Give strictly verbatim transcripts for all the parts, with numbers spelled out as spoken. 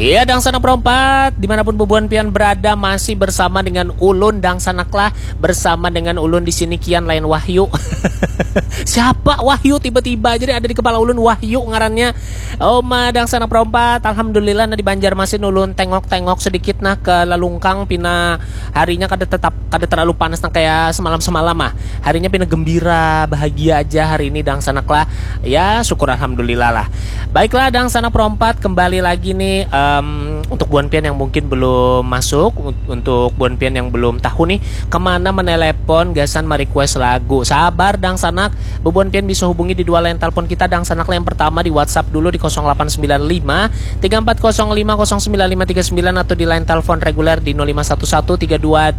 Iya, Dangsanak Perompat, dimanapun bubuhan pian berada, masih bersama dengan ulun, Dangsanak lah, bersama dengan ulun di sini, Kian, lain Wahyu. Siapa Wahyu tiba-tiba jadi ada di kepala ulun, Wahyu ngarannya. Oma, Dangsanak Perompat, alhamdulillah, nah, di Banjarmasin ulun tengok-tengok sedikit, nah, ke lalungkang, pina harinya kada tetap, kada terlalu panas nang kayak semalam-semalam, ah. Harinya pina gembira, bahagia aja hari ini, Dangsanak lah. Ya, syukur alhamdulillah lah. Baiklah, Dangsanak Perompat, kembali lagi nih, em, untuk buan pian yang mungkin belum masuk, un-, untuk buan pian yang belum tahu nih kemana menelepon gasan merequest lagu. Sabar, Dangsanak, bubuhan pian bisa hubungi di dua line telepon kita, Dangsanak lah. Yang pertama di WhatsApp dulu di kosong delapan sembilan lima tiga empat kosong lima kosong sembilan lima tiga sembilan atau di line telepon reguler di nol lima satu satu tiga dua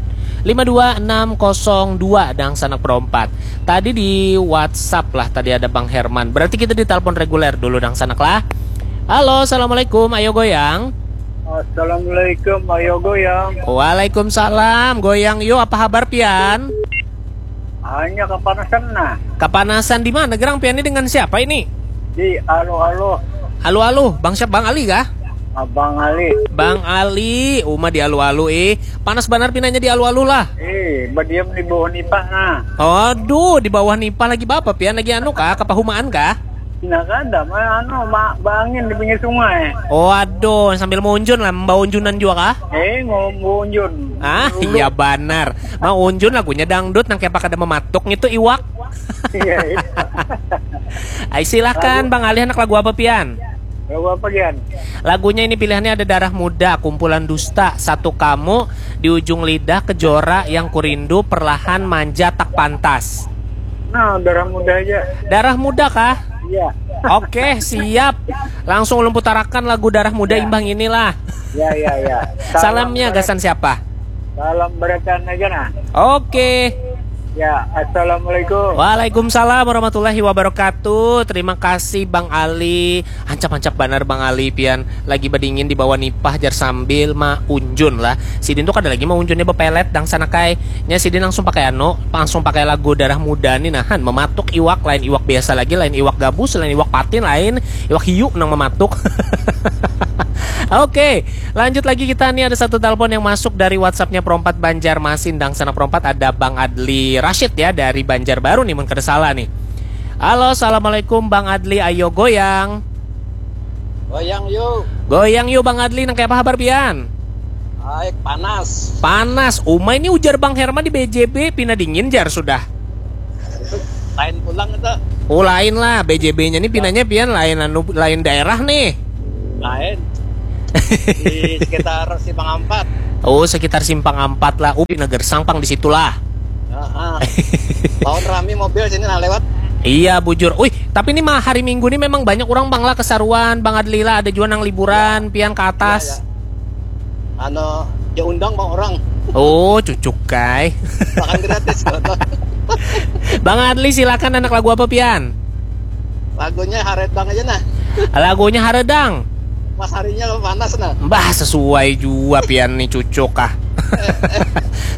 lima dua enam kosong dua, Dangsanak Perompat. Tadi di WhatsApp lah, tadi ada Bang Herman. Berarti kita di telepon reguler dulu, Dangsanak lah. Halo, assalamualaikum. Ayo goyang. Assalamualaikum, ayo goyang. Waalaikumsalam, goyang yo. Apa habar pian? Hanya kapanasan nah. Kapanasan di mana gerang pian ini, dengan siapa ini? Di alo-alo. Alo-alo, Bang siapa, Bang Ali kah? Abang Ali. Bang Ali, uma di alo-alo eh. Panas banar pinanya di alo-alo lah. Eh, badiam di bawah nipah nah. Aduh, di bawah nipah lagi bapa pian, lagi anu kah, kapahumaan kah? Nah, kada, ma-, anu, ma-, baangin di pinggir sungai. Oh, aduh, sambil maunjun lah, membawa unjunan jua kah? Eh, mau unjun. Ah, iya banar. Mau unjun lagunya dangdut, nang kayak kada mematuk ngitu iwak. Iya, iya. Ay, silakan, Bang Ali, anak lagu apa pian? Lagu apa, Gian? Lagunya ini pilihannya ada Darah Muda, Kumpulan Dusta, Satu Kamu, Di Ujung Lidah, Kejora, Yang Kurindu, Perlahan, Manja, Tak Pantas. Nah, Darah Muda aja. Darah Muda kah? Iya. Oke, siap. Langsung ulun putarakan lagu Darah Muda. Ya. Imbah inilah. Ya, ya, ya. Salamnya gasan siapa? Salam barakan aja nah. Oke. Ya, assalamualaikum. Waalaikumsalam warahmatullahi wabarakatuh. Terima kasih, Bang Ali. Hancap-hancap banar, Bang Ali, pian lagi badingin di bawah nipah jar sambil maunjun lah. Sidin tuh kada lagi maunjunnya bepelet, Dangsanak ai. Nya sidin langsung pakai anu, langsung pakai lagu Darah Muda nih, nahan mematuk iwak, lain iwak biasa lagi, lain iwak gabus, lain iwak patin, lain iwak hiu nang mematuk. Oke, lanjut lagi kita nih, ada satu telepon yang masuk dari WhatsAppnya Perompat Banjarmasin, Dangsanak Perompat, ada Bang Adli Rashid ya, dari Banjarbaru nih, mun kada salah nih. Halo, assalamualaikum Bang Adli, ayo goyang. Goyang yuk. Goyang yuk Bang Adli, nang kaya apa habar pian? Baik, panas. Panas. Uma ini ujar Bang Herman di B J B, pina dingin jar sudah. Lain pulang itu. Oh, lain lah, B J B-nya nih pinanya pian lain anu, lain daerah nih. Lain. Di sekitar Simpang Ampat. Oh, sekitar Simpang Ampat lah. Oh, pina gersang pang di situ lah. Heeh. Tahun rami mobil sini nah lewat. Iya, bujur. Uih, tapi ini mah hari Minggu nih memang banyak orang, Bang, lah, kesaruan, Bang Adli lah, ada jua nang liburan, pian ke atas. Iya, iya. Anu, ya undang mau orang. Oh, cucuk kai. Makan gratis, gitu. Bang Adli, silakan, anak lagu apa pian? Lagunya Haredang aja nah. Lagunya Haredang. Pas harinya panas nah. Mbah, sesuai jua pian nih, cucuk ah.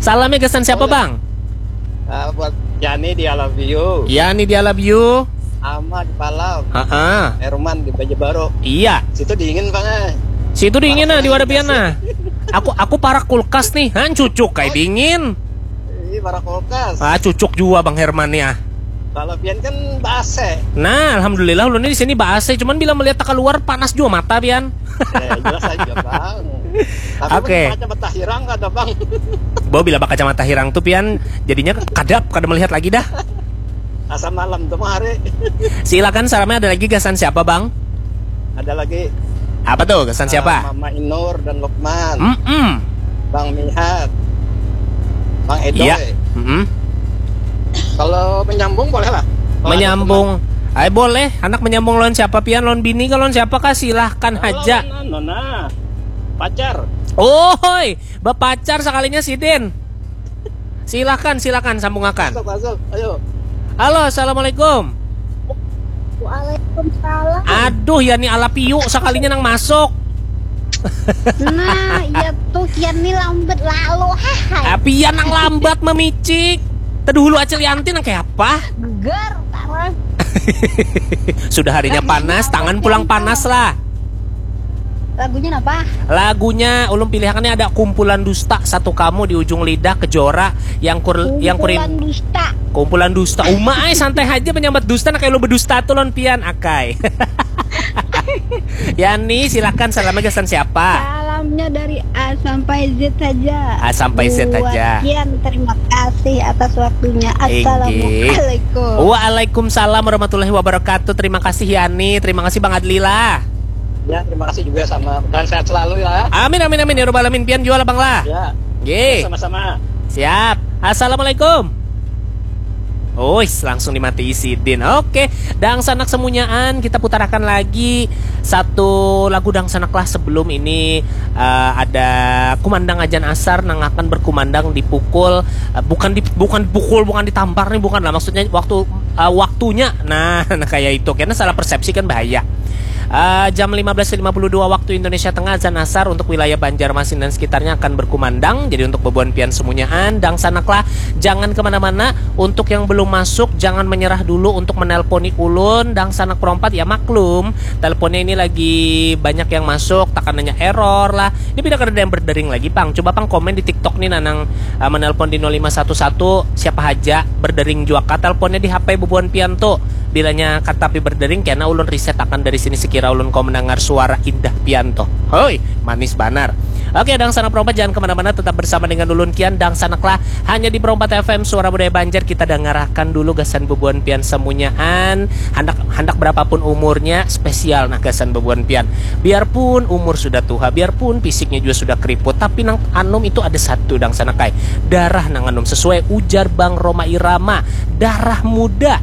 Salamnya gasan siapa, Bang? Ah, buat Yani di I love you. Yani di I love you. Ama di Palau. Heeh. Herman di Banjarbaru. Iya. Situ dingin, Bang, eh. Situ dingin nah, di wadah pian nah. Aku, aku parak kulkas nih. Han, cucuk kai dingin. Ih, parak kulkas. Ah, cucuk jua Bang Herman nih ah. Kalau pian kan ba-A C. Nah, alhamdulillah ulun di sini ba-A C, cuman bila melihat keluar panas jua mata pian. Ya, jelas aja, Bang. Tapi oke. Kacamata hirang kada, Bang? Bo, bila bakacamata hirang tuh pian jadinya kadap, kada melihat lagi dah. Asa malam tuh mah hari. Silakan, salamnya ada lagi gasan siapa, Bang? Ada lagi. Apa tuh? Gasan siapa? Ah, Mama Inur dan Lukman. Mm-mm. Bang Mihat. Bang Edo. Iya. Mm-mm. Kalau menyambung boleh lah. Kalau ada menyambung. Ay, boleh. Anak menyambung lawan siapa pian? Lawan bini kah, lawan siapa kah? Silahkan aja. Lawan anu, nah. Pacar. Oi, bapacar sekalinya sidin. Silakan, silakan, sambungakan. Masuk, masuk. Ayo. Halo, assalamualaikum. Waalaikumsalam. Aduh, ya ni ala piu sekalinya nang masuk. Nah, ya tuh, kian ni lambat lalu. Hahai. Ah, pian nang lambat memicik. Tadi hulu Acil Yanti nang kayak apa? Geger, tarang. Sudah harinya panas, tangan pulang panas lah. Lagunya apa? Lagunya ulun pilihannya ada Kumpulan Dusta Satu Kamu di Ujung Lidah, Kejora, yang kur yang kuring Kumpulan dusta. Kumpulan Dusta. Uma ai, santai aja menyambat dusta, nah kayak lu berdusta tuh lon pian akai. Yani, silakan, salamnya gasan siapa? Salamnya dari A sampai Z saja. A sampai Z Buat saja. Kian, terima kasih atas waktunya. Inggih. Assalamualaikum. Waalaikumsalam warahmatullahi wabarakatuh. Terima kasih Yani, terima kasih Bang Adlila. Ya, terima kasih juga sama dan sehat selalu ya. Amin amin amin ya robbal alamin, pian jual abang lah. Ya, Nggih. Sama-sama. Siap. Assalamualaikum. Uis, langsung dimati sidin. Oke, dangsanak semunyaan, kita putarakan lagi satu lagu dangsanak lah sebelum ini eh, ada kumandang ajan asar nang akan berkumandang di pukul eh, bukan di bukan pukul bukan ditampar nih, bukan lah, maksudnya waktu eh, waktunya. Nah, nah kayak itu karena salah persepsi kan bahaya. Eh, jam lima belas lima puluh dua waktu Indonesia Tengah, azan asar untuk wilayah Banjarmasin dan sekitarnya akan berkumandang. Jadi untuk bebuan pian semunyaan, dangsanaklah, jangan kemana-mana. Untuk yang belum masuk, jangan menyerah dulu untuk menelponi ulun, dangsanak perompat ya maklum. Teleponnya ini lagi banyak yang masuk, takananya error lah. Ini pindah kada ada yang berdering lagi, pang. Coba pang komen di TikTok nih, nanang eh, menelpon di nol lima satu satu, siapa haja berdering jua kah teleponnya di H P bebuan pian tuh. Bilanya katapi berdering, kena ulun reset akan dari sini sekira ulun kau mendengar suara indah pian tuh. Hoi, manis banar. Oke, dangsanak perompat, jangan kemana-mana, tetap bersama dengan ulun kian, dangsanaklah hanya di Perompat F M, suara budaya Banjar. Kita dangarakan dulu gasan bebuan pian semunyaan, handak handak berapapun umurnya, spesial nah gasan bebuan pian. Biarpun umur sudah tuha, biarpun fisiknya juga sudah keriput, tapi nang anum itu ada satu, dangsanak ai, darah nang anum, sesuai ujar Bang Roma Irama, darah muda.